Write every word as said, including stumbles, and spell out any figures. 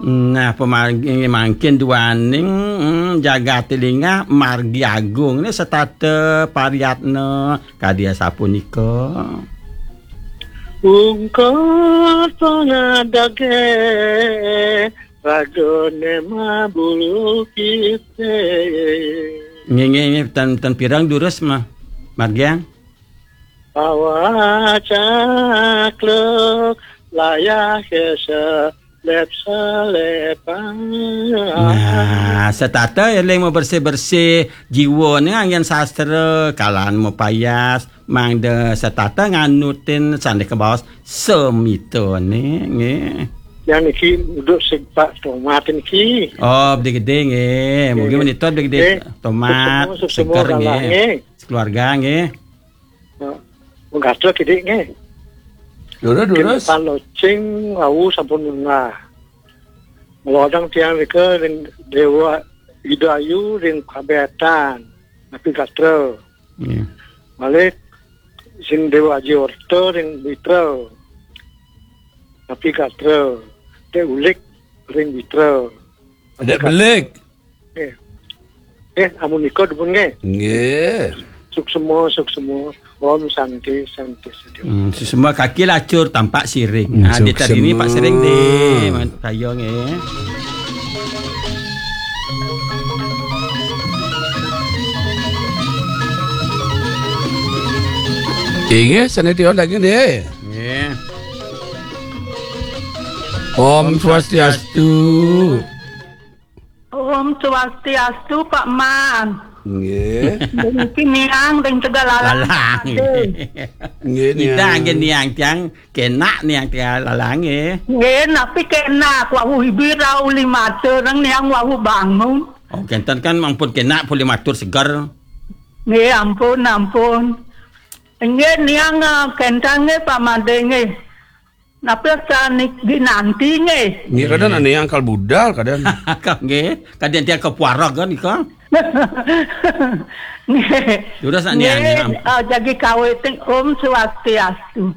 Nah, pamargi mangkin duaning, mm, jagaté linggah margi agung né setata pariyatna kadi asapunika. Ungkur pangadagé ragané mabulu kité. Nggih, nggih, nggih, ten, ten pireng durus mah, margiang. Pawacakluk layah kesa lep salepan. Nah, setata éling mabersih-bersih jiwané anggén sastra, kalan mapayas, mangda setata nganutin sané kabaos semitané, nggih. Yang niki duduk si Pak Tomat niki. Oh, Bdi Gedé, nggih. Mugi, nggih, menika Bdi Gedé, nggih. Tomat, suksema, suksema seger, nggih, galah, nggih. Sekeluarga, nggih. Nah, menggatel kidik, nggih. Durus, durus. Kin palocing wau sampun munggah. Ngelodang tiang rika ring Dewa Idayu ring Kabetan, napi gatra. Iya. Malih sing Dewa Aji Orta ring Mitra, napi gatra. Dek Ulik ring Mitra, napi gatra. Dek Belik. Eh. Eh, amunika dumun nggih. Nggih. Suksema, suksema. Om Santi, Santi, Santi. Hmm, suksema kaki lacur tampak siring. Hmm, ah, di tadi ini suksema. Pak Siring deh. Kaya nggih. Inggih, sané tiang daging deh. Nggih. Om Swastiastu. Om Swastiastu, Pak Man. Nggih. Niki niang ring Tegal Lalang. Lalang. Ade. Nggih, kita niang. Nggih niang tiang kenak niang Tegal Lalang, nggih. Nggih, napi kenak wau ibi rau lima tereng niang wau bangun. Oh, kenten kan ampun kenak pun lima tur seger. Nggih, ampun, ampun. Nggih, niang, eh, kenten nggih, Pak Made nggih. Napa sané ginanti nggih? Nggih, kadén ané angkal budal, kadén. Nggih, kadén tiang kapuarag kan nika. Nggih. Durus nak niang, nggih, niang. Eh, jagi kawitin Om Swastiastu.